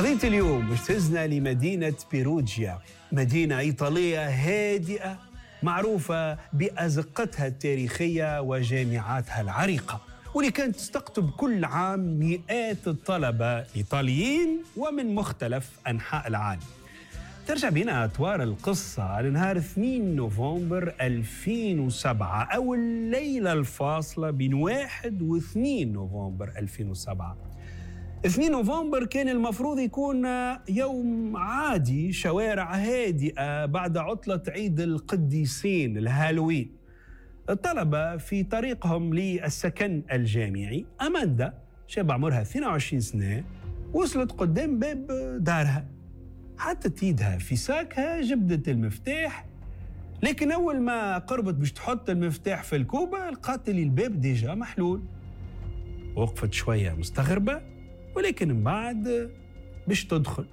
قضية اليوم باش تهزنا لمدينة بيروجيا، مدينة إيطالية هادئة معروفة بأزقتها التاريخية وجامعاتها العريقة، واللي كانت تستقطب كل عام مئات الطلبة الإيطاليين ومن مختلف أنحاء العالم. ترجع بنا أطوار القصة لنهار 2 نوفمبر 2007، أو الليلة الفاصلة بين 1 و 2 نوفمبر 2007. 2 نوفمبر كان المفروض يكون يوم عادي، شوارع هادئة بعد عطلة عيد القديسين الهالوين. الطلبة في طريقهم للسكن الجامعي. أماندا شابة عمرها 22 سنة وصلت قدام باب دارها، حطت ايدها في ساكها، جبدت المفتاح، لكن أول ما قربت باش تحط المفتاح في الكوبة لقات اللي الباب déjà محلول. وقفت شوية مستغربة، ولكن من بعد باش تدخل،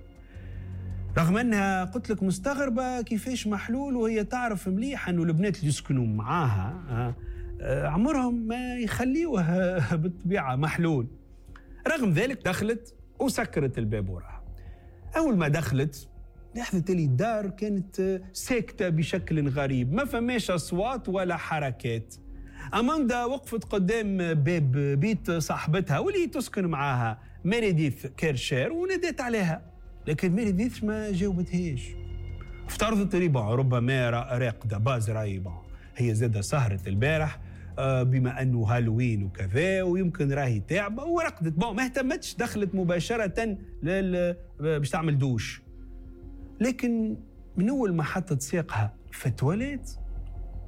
رغم أنها قلت لك مستغربة كيفاش محلول، وهي تعرف مليح أنه البنات اللي يسكنوا معاها عمرهم ما يخليوها بالطبيعة محلول. رغم ذلك دخلت وسكرت الباب وراها. أول ما دخلت لاحظت اللي الدار كانت ساكتة بشكل غريب، ما فماش أصوات ولا حركات. أماندا وقفت قدام باب بيت صاحبتها واللي تسكن معاها ميريديث كيرشير ونادت عليها، لكن ميريديث ما جاوبتهاش. افترضت اللي ربما راقدة باز رايبة، هي زادة سهرت البارح بما أنه هالوين وكذا ويمكن راهي تعبة ورقدت. ما اهتمتش، دخلت مباشرة باش تعمل دوش. لكن من أول ما حطت ساقها في التواليت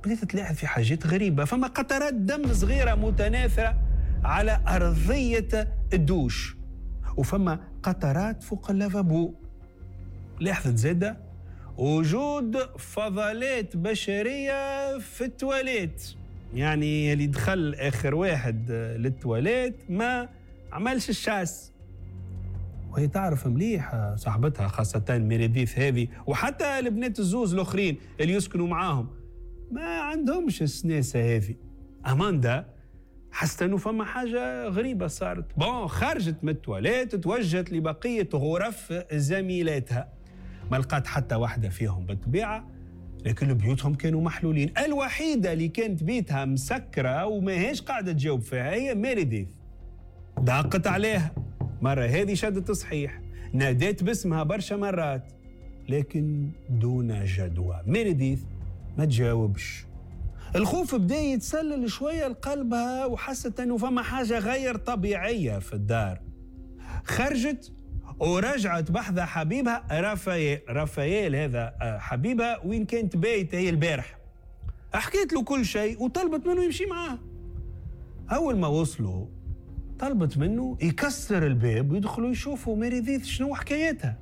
بدأت تلاحظ في حاجات غريبة. فما قطرات دم صغيرة متناثرة على أرضية الدوش، وفما قطرات فوق اللافابو. لاحظت زادة وجود فضلات بشرية في التواليت، يعني اللي دخل آخر واحد للتواليت ما عملش ال chasse. وهي تعرف مليح صاحبتها خاصة ميريديث هذه وحتى البنات الزوز الآخرين اللي يسكنوا معاهم ما عندهمش السناسة هذه. أماندا حست أنه فما حاجة غريبة صارت. خرجت من التواليت توجهت لبقية غرف زميلاتها، ما لقات حتى واحدة فيهم بالطبيعة، لكن بيوتهم كانوا محلولين. الوحيدة اللي كانت بيتها مسكرة وما هيش قاعدة تجاوب فيها هي ميريديث. دقت عليها مرة هذه شدت صحيح، نادت باسمها برشا مرات لكن دون جدوى. ميريديث ما تجاوبش. الخوف بدأ يتسلل شوية لقلبها وحست أنه فما حاجة غير طبيعية في الدار. خرجت ورجعت بحذا حبيبها رافائيل. رافائيل هذا حبيبها وين كانت بايتة هي البارح. حكيت له كل شيء وطلبت منه يمشي معاه. أول ما وصلوا طلبت منه يكسر الباب ويدخلوا يشوفوا ميريديث شنو حكايتها.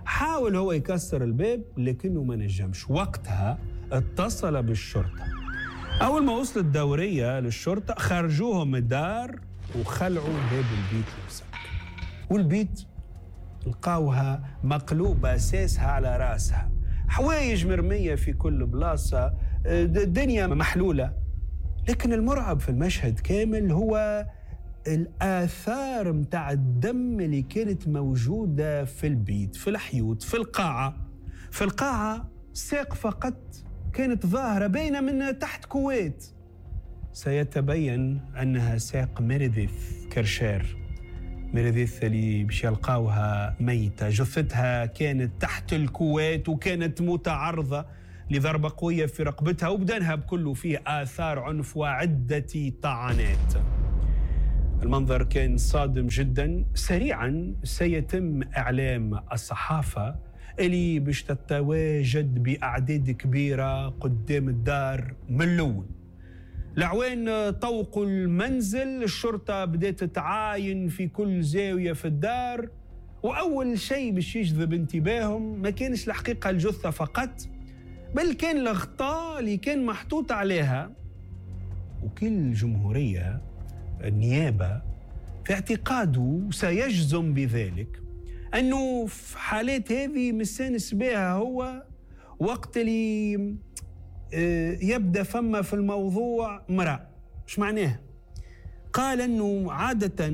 حاول هو يكسر الباب لكنه ما نجمش. وقتها اتصل بالشرطة. أول ما وصلت الدورية للشرطة خرجوهم من الدار وخلعوا باب البيت المسكر، والبيت لقاوها مقلوبة أساسها على راسها، حوايج مرمية في كل بلاصة، الدنيا محلولة. لكن المرعب في المشهد كامل هو الآثار متاع الدم اللي كانت موجودة في البيت، في الحيوط، في القاعة. في القاعة ساق فقط كانت ظاهرة باينة من تحت couette. سيتبين أنها ساق ميريديث كيرشير. ميريديث اللي باش يلقاوها ميتة، جثتها كانت تحت ال couette وكانت متعرضة لضربة قوية في رقبتها وبدنها بكله فيه آثار عنف وعدة طعنات. المنظر كان صادم جدا. سريعا سيتم إعلام الصحافة اللي باش تتواجد بأعداد كبيرة قدام الدار من الأول. العوان طوقوا المنزل، الشرطة بدأت تتعاين في كل زاوية في الدار، وأول شيء باش يجذب انتباههم ما كانش الحقيقة الجثة فقط، بل كان الغطاء اللي كان محطوط عليها. وكل جمهورية النيابة في اعتقاده سيجزم بذلك أنه في حالات هذه مستانس بها هو وقت اللي يبدأ فما في الموضوع مرأة. ايش معناه؟ قال أنه عادة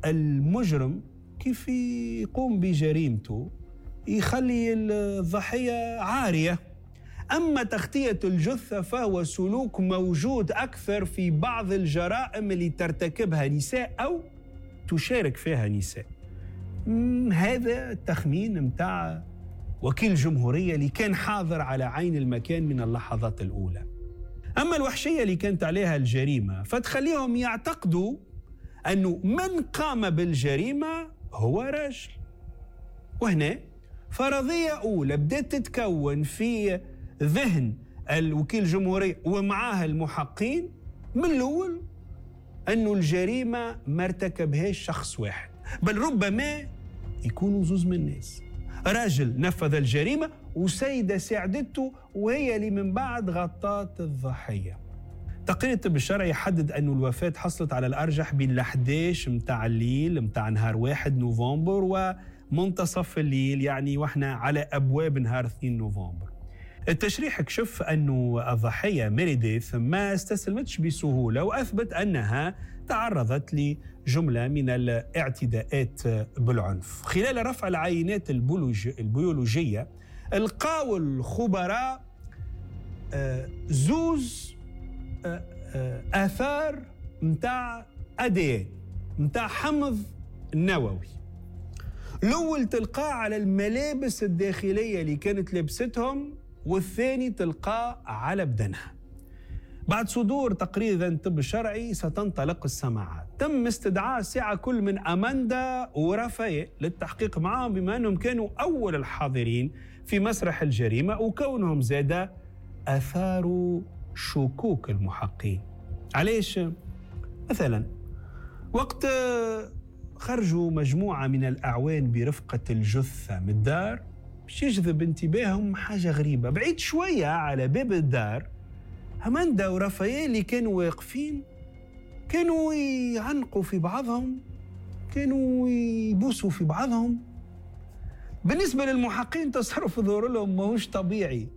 المجرم كيف يقوم بجريمته يخلي الضحية عارية. أما تغطية الجثة فهو سلوك موجود أكثر في بعض الجرائم اللي ترتكبها نساء أو تشارك فيها نساء. هذا التخمين متاع وكيل الجمهورية اللي كان حاضر على عين المكان من اللحظات الأولى. أما الوحشية اللي كانت عليها الجريمة فتخليهم يعتقدوا أنه من قام بالجريمة هو رجل. وهنا فرضية أولى بدأت تتكون في ذهن الوكيل الجمهوري ومعاه المحقين من الأول أنه الجريمة ما ارتكبهاش شخص واحد، بل ربما يكونوا زوز من الناس، راجل نفذ الجريمة وسيدة ساعدته وهي اللي من بعد غطت الضحية. تقرير الطب الشرعي يحدد أن الوفاة حصلت على الأرجح بين 11 متاع الليل متاع نهار 1 نوفمبر ومنتصف الليل، يعني وإحنا على أبواب نهار 2 نوفمبر. التشريح كشف أن الضحية ميريديث ما استسلمتش بسهولة، وأثبت أنها تعرضت لجملة من الاعتداءات بالعنف. خلال رفع العينات البيولوجية لقاو الخبراء زوز آثار متاع ADN متاع حمض نووي. الأول تلقاه على الملابس الداخلية اللي كانت لبستهم، والثاني تلقاه على بدنها. بعد صدور تقرير الطب الشرعي ستنطلق السماعات. تم استدعاء ساعة كل من أماندا ورافائيل للتحقيق معهم، بما أنهم كانوا أول الحاضرين في مسرح الجريمة وكونهم زادة أثاروا شكوك المحقين. علاش؟ مثلا وقت خرجوا مجموعة من الأعوان برفقة الجثة من الدار باش يجذب انتباههم حاجة غريبة. بعيد شوية على باب الدار أماندا ورافائيل اللي كانوا واقفين كانوا يعنقوا في بعضهم، كانوا يبوسوا في بعضهم. بالنسبة للمحقين تصرف ظهور لهم ماهوش طبيعي،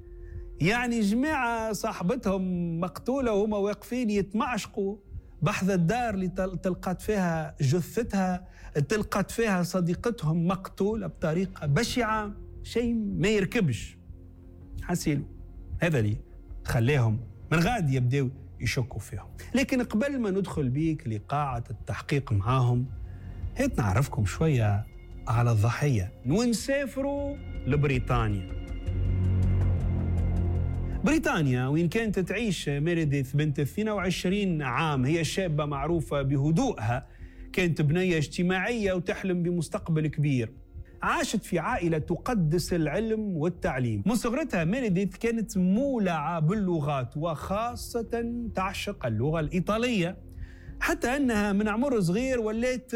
يعني جماعة صاحبتهم مقتولة وهما واقفين يتمعشقوا بحذ الدار اللي تلقت فيها جثتها، تلقت فيها صديقتهم مقتولة بطريقة بشعة، شيء ما يركبش. حسيلو هذا اللي خلاهم من غاد يبداو يشكوا فيهم. لكن قبل ما ندخل بيك لقاعة التحقيق معاهم، هات نعرفكم شوية على الضحية ونسافروا لبريطانيا. بريطانيا وين كانت تعيش ميريديث بنت 22 عام، هي شابة معروفة بهدوءها، كانت بنية اجتماعية وتحلم بمستقبل كبير. عاشت في عائلة تقدس العلم والتعليم. من صغرتها ميريديث كانت مولعة باللغات، وخاصة تعشق اللغة الإيطالية، حتى أنها من عمر صغير ولات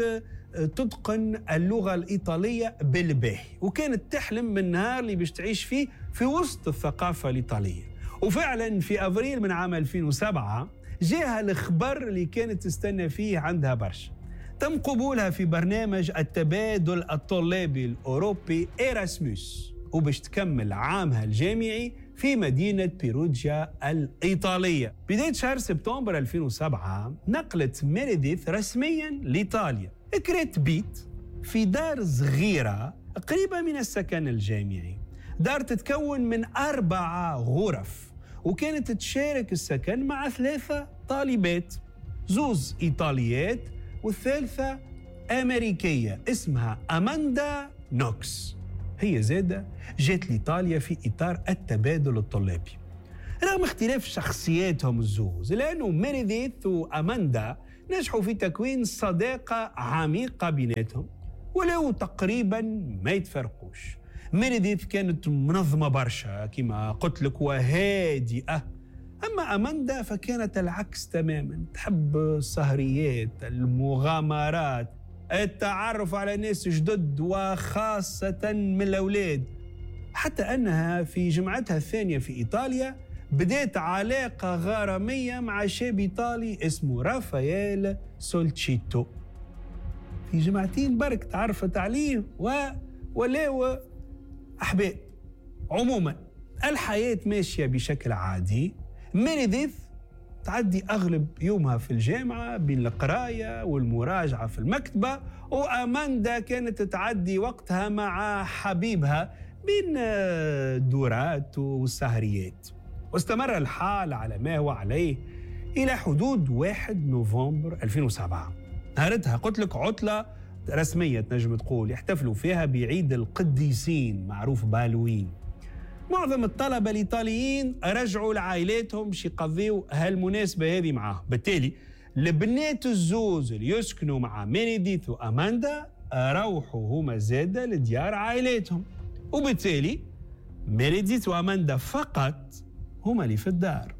تتقن اللغة الإيطالية بالباهي، وكانت تحلم من النهار اللي باش تعيش فيه في وسط الثقافة الإيطالية. وفعلا في أفريل من عام 2007 جاها الخبر اللي كانت تستنى فيه عندها برشا. تم قبولها في برنامج التبادل الطلابي الأوروبي إيراسموس، وباش تكمل عامها الجامعي في مدينة بيروجيا الإيطالية. بداية شهر سبتمبر 2007 نقلت ميريديث رسميا لإيطاليا. كريت بيت في دار صغيرة قريبة من السكن الجامعي، دار تتكون من 4 غرف، وكانت تشارك السكن مع 3 طالبات، 2 إيطاليات والثالثة أمريكية اسمها أماندا نوكس. هي زادة جات لإيطاليا في إطار التبادل الطلابي. رغم اختلاف شخصياتهم الزوز، لأنه ميريديث وأماندا نجحوا في تكوين صداقة عميقة بيناتهم ولو تقريبا ما يتفرقوش. ميريديث كانت منظمة برشا كما قلت لك وهادئة، أما أماندا فكانت العكس تماما، تحب السهريات، المغامرات، التعرف على ناس جدد وخاصة من الأولاد. حتى أنها في جمعتها الثانية في إيطاليا بدأت علاقة غرامية مع شاب إيطالي اسمه رافائيل سولتشيتو. في جمعتين برك تعرفت عليه ولاو أحباب. عموما الحياة ماشية بشكل عادي. ميريديث تعدي أغلب يومها في الجامعة بين القراية والمراجعة في المكتبة، وأماندا كانت تعدي وقتها مع حبيبها بين الدورات والسهريات. واستمر الحال على ما هو عليه إلى حدود 1 نوفمبر 2007. نهارتها قلت لك عطلة رسمية تنجم تقول يحتفلوا فيها بعيد القديسين معروف بالوين. معظم الطلبة الإيطاليين رجعوا لعائلاتهم باش يقضيوا هالمناسبة هذه معاهم. بالتالي البنات الزوز اللي يسكنوا مع ميريديث وأماندا روحوا هما زادة لديار عائلاتهم، وبالتالي ميريديث وأماندا فقط هما اللي في الدار.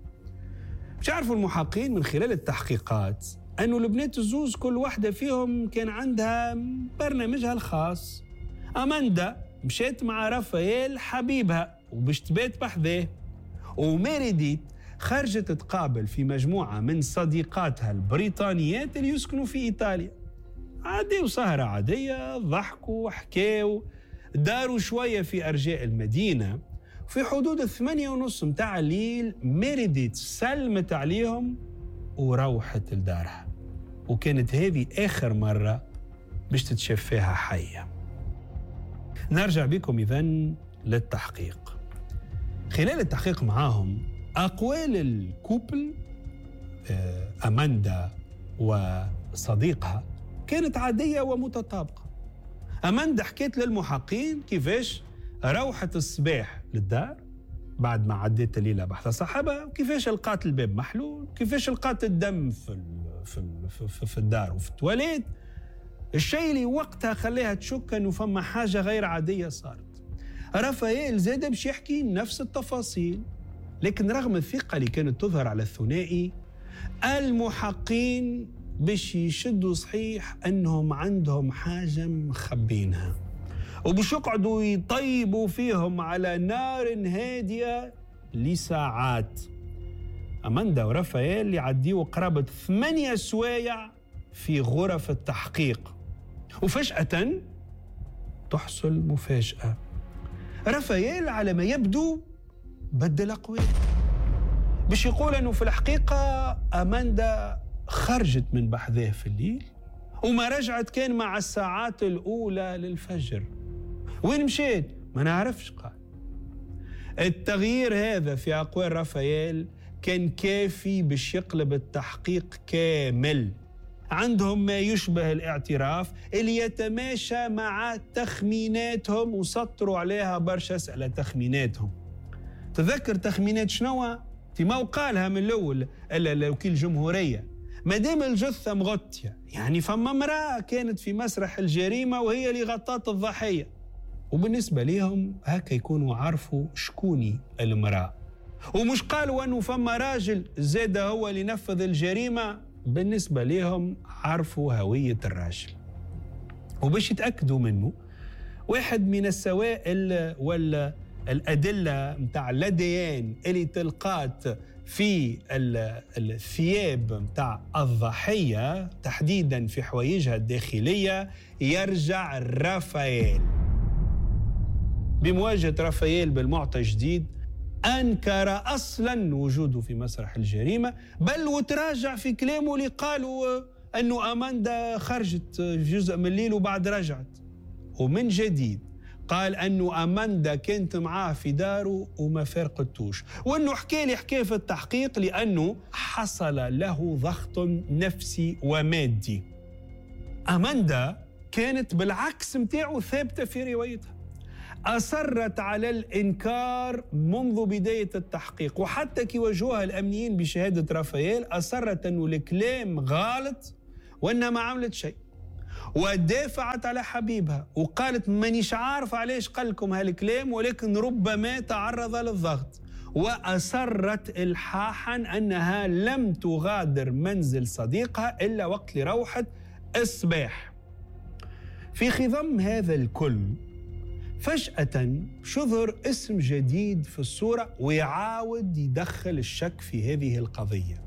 باش يعرفوا المحققين من خلال التحقيقات أنه البنات الزوز كل واحدة فيهم كان عندها برنامجها الخاص. أماندا مشات مع رافائيل حبيبها وباش تبات بحذاه، وميريديت خرجت تقابل في مجموعة من صديقاتها البريطانيات اللي يسكنوا في إيطاليا. عاديوا سهرة عادية، ضحكوا وحكاوا، داروا شوية في أرجاء المدينة. في حدود 8:30 متاع الليل ميريديت سلمت عليهم وروحت لدارها، وكانت هذه آخر مرة باش تتشاف فيها حية. نرجع بكم إذن للتحقيق. خلال التحقيق معاهم أقوال ال couple أماندا وصديقها كانت عادية ومتطابقة. أماندا حكيت للمحققين كيفاش روحت الصباح للدار بعد ما عدت الليلة بحث صاحبها، وكيفاش لقات الباب محلول، كيفاش لقات الدم في الدار وفي التواليت. الشيء اللي وقتها خليها تشك انه فما حاجة غير عادية صارت. رافائيل زاد باش يحكي نفس التفاصيل، لكن رغم الثقة اللي كانت تظهر على الثنائي، المحقين باش يشدوا صحيح أنهم عندهم حاجة مخبينها، وباش يقعدوا يطيبوا فيهم على نار هادية لساعات. أماندا ورافائيل يعديوا قرابة 8 سوايع في غرف التحقيق، وفجأة تحصل مفاجأة. رافائيل على ما يبدو بدل أقواله باش يقول أنه في الحقيقة أماندا خرجت من بحذاه في الليل وما رجعت كان مع الساعات الأولى للفجر. وين مشيت؟ ما نعرفش. قال التغيير هذا في أقوال رافائيل كان كافي باش يقلب التحقيق كامل. عندهم ما يشبه الاعتراف اللي يتماشى مع تخميناتهم، وسطروا عليها برشا أسئلة تخميناتهم. تذكر تخمينات شنو؟ ما وقالها من الأول الوكيل الجمهورية، ما دام الجثة مغطية يعني فما امرأة كانت في مسرح الجريمة وهي اللي غطت الضحية، وبالنسبة لهم هكا يكونوا عرفوا شكوني المرأة. ومش قالوا أنه فما راجل زاد هو اللي نفذ الجريمة، بالنسبة لهم عرفوا هوية الراجل. وباش يتأكدوا منه، واحد من السوائل والأدلة متاع l'ADN اللي تلقات في الثياب متاع الضحية تحديدا في حوايجها الداخلية يرجع رافائيل. بمواجهة رافائيل بالمعطى الجديد أنكر أصلا وجوده في مسرح الجريمة، بل وتراجع في كلامه اللي قالوا أنه أماندا خرجت جزء من الليل وبعد رجعت. ومن جديد قال أنه أماندا كانت معاه في داره وما فارقتوش، وأنه حكى لي حكاية في التحقيق لأنه حصل له ضغط نفسي ومادي. أماندا كانت بالعكس متاعه ثابتة في روايتها، أصرت على الإنكار منذ بداية التحقيق، وحتى كي واجهوها الأمنيين بشهادة رافائيل أصرت أنه الكلام غلط وأنها ما عملت شيء، ودافعت على حبيبها وقالت مانيش عارف علاش قال لكم هالكلام، ولكن ربما تعرض للضغط. وأصرت إلحاحا أنها لم تغادر منزل صديقها إلا وقت اللي روحت الصباح. في خضم هذا الكل فجأة شظهر اسم جديد في الصورة ويعاود يدخل الشك في هذه القضية.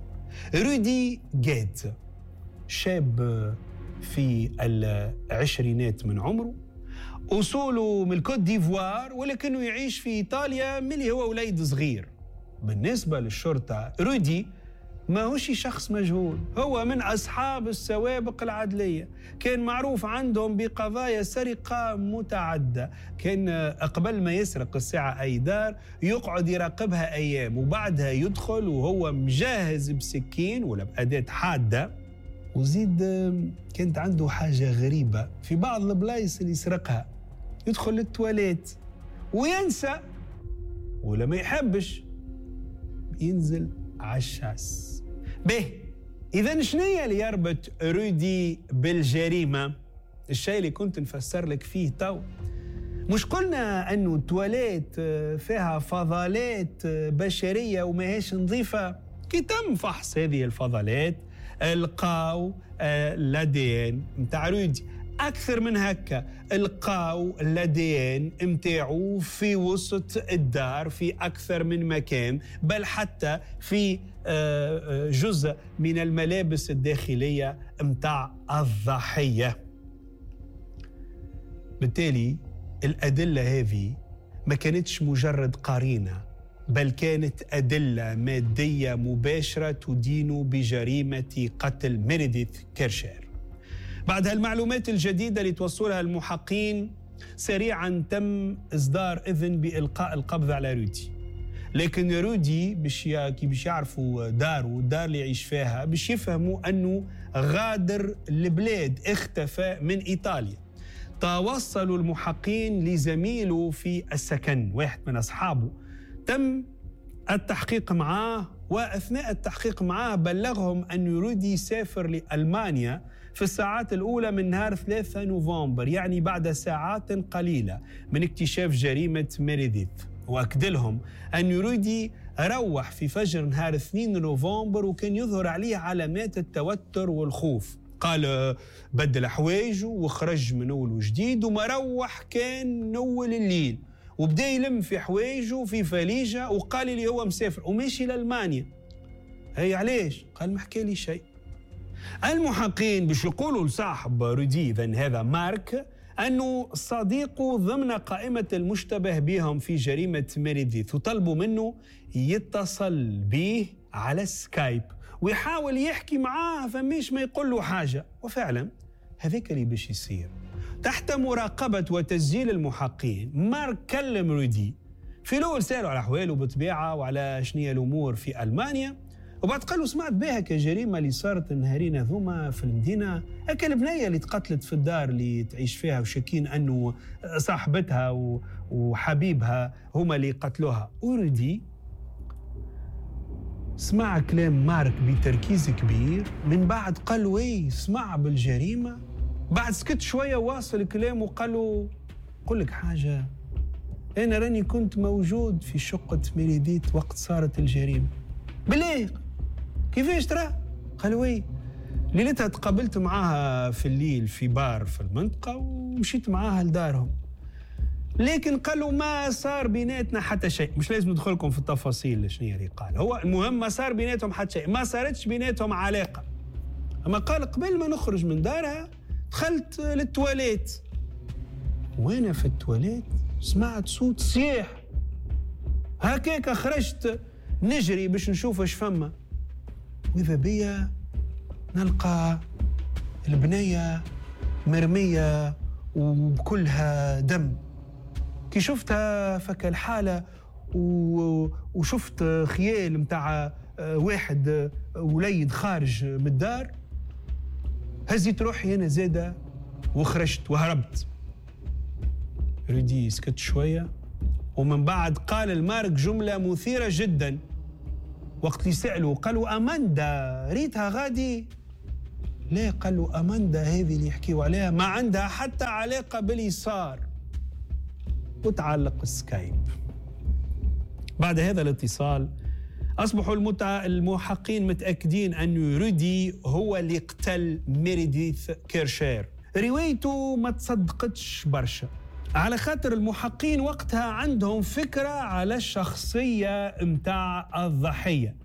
رودي جيت، شاب في العشرينات من عمره، أصوله من الكوت ديفوار ولكنه يعيش في إيطاليا من اللي هو وليد صغير. بالنسبة للشرطة رودي ما هوش شخص مجهول، هو من أصحاب السوابق العدلية، كان معروف عندهم بقضايا سرقة متعدة. كان قبل ما يسرق الساعة أي دار يقعد يراقبها أيام، وبعدها يدخل وهو مجهز بسكين ولا بأداة حادة. وزيد كانت عنده حاجة غريبة في بعض البلايص اللي يسرقها، يدخل للتواليت وينسى ولا ما يحبش ينزل عالشاس. به إذا شنية اللي يربط رودي بالجريمة؟ الشيء اللي كنت نفسر لك فيه تو. مش قلنا أنه التواليت فيها فضلات بشرية وماهيش نظيفة؟ كي تم فحص هذه الفضلات لقاو l'ADN متاع رودي. أكثر من هكا لقاو l'ADN متاعو في وسط الدار في أكثر من مكان، بل حتى في جزء من الملابس الداخلية متاع الضحية. بالتالي الأدلة هذه ما كانتش مجرد قرينة، بل كانت أدلة مادية مباشرة تدين بجريمة قتل ميريديث كيرشر. بعد هالمعلومات الجديدة اللي توصلها المحقين، سريعا تم إصدار إذن بإلقاء القبض على رودي. لكن رودي باش يعرفوا داره والدار اللي يعيش فيها، باش يفهموا أنه غادر البلاد، اختفى من إيطاليا. توصلوا المحقين لزميله في السكن، واحد من أصحابه. تم التحقيق معاه، وأثناء التحقيق معاه بلغهم أن رودي سافر لألمانيا في الساعات الأولى من نهار 3 نوفمبر، يعني بعد ساعات قليلة من اكتشاف جريمة ميريديث. وأكد لهم أن رودي روح في فجر نهار 2 نوفمبر، وكان يظهر عليه علامات التوتر والخوف. قال بدل حوايجه وخرج من أول وجديد، وما روح كان أول الليل، وبدا يلم في حوايجه في فليجة، وقال لي هو مسافر وماشي لألمانيا. هي علاش؟ قال ما حكى لي شيء. المحقين باش يقولوا لصاحب رودي، إذن هذا مارك، أنه صديقه ضمن قائمة المشتبه بهم في جريمة ميريديث، وطلبوا منه يتصل به على سكايب ويحاول يحكي معاه فماش ما يقول له حاجة. وفعلا هذاك اللي باش يصير. تحت مراقبة وتسجيل المحقين، مارك كلم رودي. في الأول سألوا على أحواله بطبيعة وعلى شنية الأمور في ألمانيا، وبعد قالوا سمعت بها كجريمة اللي صارت النهارين هذوما في المدينة، هكا البنية اللي تقتلت في الدار اللي تعيش فيها، وشاكين أنه صاحبتها وحبيبها هما اللي قتلوها. ورودي سمع كلام مارك بتركيز كبير، من بعد قال وي سمع بالجريمة. بعد سكت شوية واصل كلامه وقال له قل لك حاجة، أنا راني كنت موجود في شقة ميريديث وقت صارت الجريمة. بالله كيفاش ترى؟ قال oui ليلتها تقابلت معاها في الليل في بار في المنطقة ومشيت معاها لدارهم، لكن قالوا ما صار بيناتنا حتى شيء. مش لازم ندخلكم في التفاصيل شنو اللي قال هو، المهم ما صار بيناتهم حتى شيء، ما صارتش بيناتهم علاقة. أما قال قبل ما نخرج من دارها دخلت للتواليت، وأنا في التواليت سمعت صوت صياح، هكاك خرجت نجري باش نشوف اش فما، وإذا بيا نلقى البنية مرمية وبكلها دم. كي شفتها فك الحالة وشفت خيال متاع واحد وليد خارج من الدار، هزيت روحي أنا زادة وخرجت وهربت. رودي سكت شوية، ومن بعد قال المارك جملة مثيرة جدا وقت اللي سألوا، قالوا أماندا ريتها غادي؟ لا، قالوا أماندا هذه اللي يحكيوا عليها ما عندها حتى علاقة باليسار. وتعلق السكايب. بعد هذا الاتصال أصبحوا المحقين متأكدين أن رودي هو اللي قتل ميريديث كيرشير. روايته ما تصدقتش برشا، على خاطر المحقين وقتها عندهم فكرة على الشخصية متاع الضحية.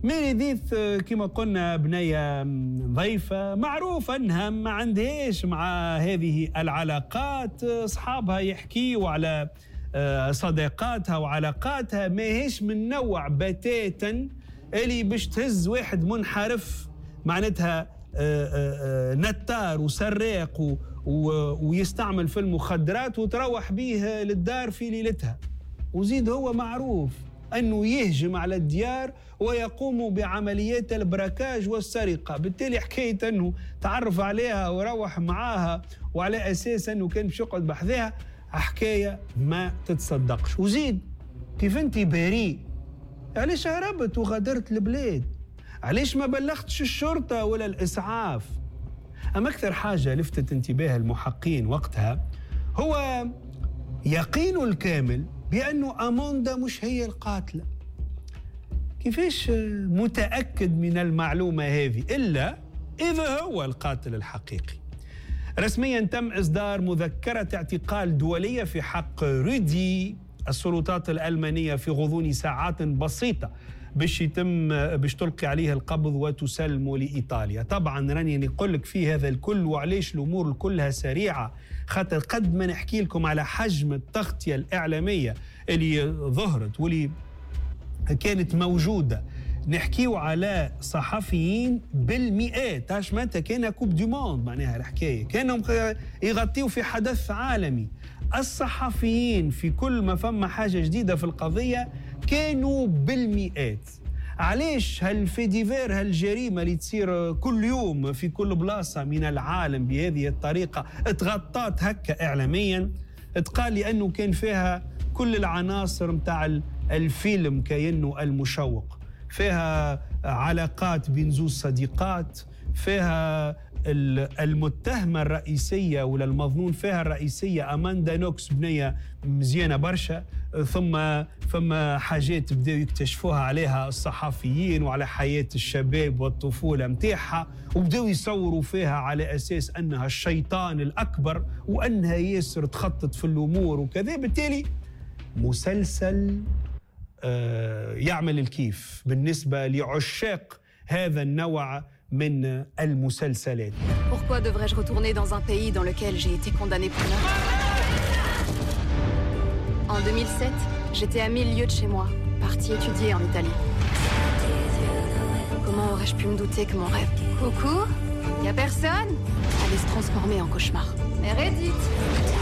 ميريديث كما قلنا بنية ضيفة، معروف أنها ما عندهاش مع هذه العلاقات، أصحابها يحكيوا على صداقاتها وعلاقاتها، ما هيش من نوع بتاتا اللي باش تهز واحد منحرف، معناتها نتار وسراق ويستعمل في المخدرات، وتروح به للدار في ليلتها؟ وزيد هو معروف أنه يهجم على الديار ويقوم بعمليات ال braquage والسرقة. بالتالي حكاية أنه تعرف عليها وروح معاها وعلى أساس أنه كان باش يقعد بحذاها، حكاية ما تتصدقش. وزيد كيف أنت بريء، علاش هربت وغادرت البلاد؟ علاش ما بلغتش الشرطة ولا الإسعاف؟ أما أكثر حاجة لفتت انتباه المحقين وقتها هو يقين الكامل بأنه أماندا مش هي القاتلة. كيفاش متأكد من المعلومة هذه إلا إذا هو القاتل الحقيقي؟ رسميا تم إصدار مذكرة اعتقال دولية في حق رودي. السلطات الألمانية في غضون ساعات بسيطة باش تلقي عليه القبض وتسلمه لإيطاليا. طبعا راني نقول لك في هذا الكل وعليش الأمور كلها سريعة، خاطر قد ما نحكي لكم على حجم التغطية الإعلامية اللي ظهرت واللي كانت موجودة، نحكيو على صحفيين بالمئات، اش معناتها كان coupe du monde، معناها الحكاية كانوا يغطيو في حدث عالمي. الصحفيين في كل ما فما حاجة جديدة في القضية كانوا بالمئات. علاش هال fait divers، هالجريمة اللي تصير كل يوم في كل بلاصة من العالم بهذه الطريقة اتغطات هكا إعلاميا؟ اتقال لأنه كان فيها كل العناصر متاع الفيلم كأنه المشوق، فيها علاقات بين زوج صديقات، فيها المتهمة الرئيسية ولا المظنون فيها الرئيسية أماندا نوكس، بنية مزيانة برشا، ثم فما حاجات بدأوا يكتشفوها عليها الصحفيين وعلى حياة الشباب والطفولة متاعها، وبدأوا يصوروا فيها على أساس أنها الشيطان الأكبر وأنها ياسر تخطط في الأمور وكذا. بالتالي مسلسل يعمل الكيف بالنسبة لعشاق هذا النوع من المسلسلات. Pourquoi devrais-je retourner dans un pays dans lequel j'ai été condamné pour meurtre? En 2007, j'étais à 1000 lieues de chez moi, partie étudier en Italie. Comment aurais-je pu me douter que mon rêve, coucou, y a personne, allait se transformer en cauchemar? Meredith.